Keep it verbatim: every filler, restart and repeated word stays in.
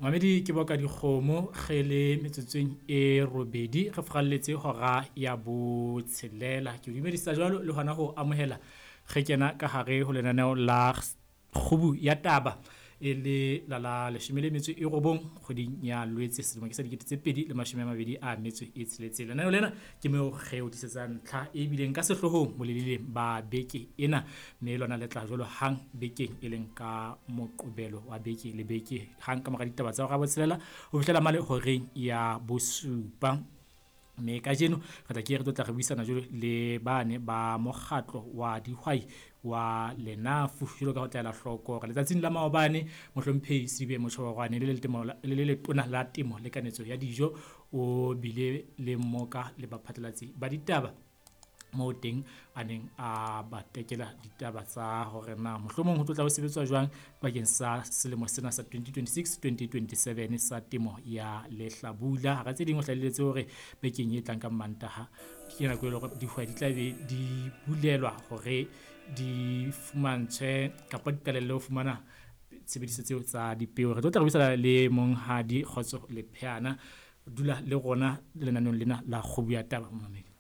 Mamedi ke boka dikgomo re le metsotsong e robedi re furalletse hora ya botshelela. Ke o dumedisa jwalo le hona ho amohela re kena ka hare ho lenaneo la kgubu ya taba e le la la leshome le metso e robong kgweding ya Lwetse selemo ke sa dikete tse pedi le mashome a mabedi a metso e tsheletseng. Lenaneo lena ke moo re o tlisetsang ntlha e bileng ka sehloohong boleleleng ba beke ena, mme lona le tla jwalo hang bekeng e leng ka Moqebelo wa beke le beke hang ka mora ditaba tsa hora ya botshelela ho fihlela mane horeng ya bosupa. Mme kajeno re tla ke re tlo tla re buisana jwalo le bane ba mokgatlo wa dihwai wa Lenafu jwalo ka ho tla ela hloko hore letsatsing la maobane mohlomphehi Selibe Mochoboroane le le letona la temo le kanetso ya dijo o bile le mmoka le baphatlalatsi ba ditaba moo teng a neng a ba tekela ditaba tsa hore na mohlomong ho tlo tla ho sebetswa jwang bakeng sa selemo sena sa twenty twenty-six twenty twenty-seven sa temo ya lehlabula. Hara tse ding o hlahelletse hore bekeng e tlang ka Mantaha ke nako e leng hore dihwai di tla be di bulelwa hore di fumantshwe kapa di qalelle ho fumana tshebediso tseo tsa dipeo. Re tlo tla re buisana le monghadi Kgotso Lepheana. Dula le rona lenaneong lena la Kgubu ya Taba, momamedi.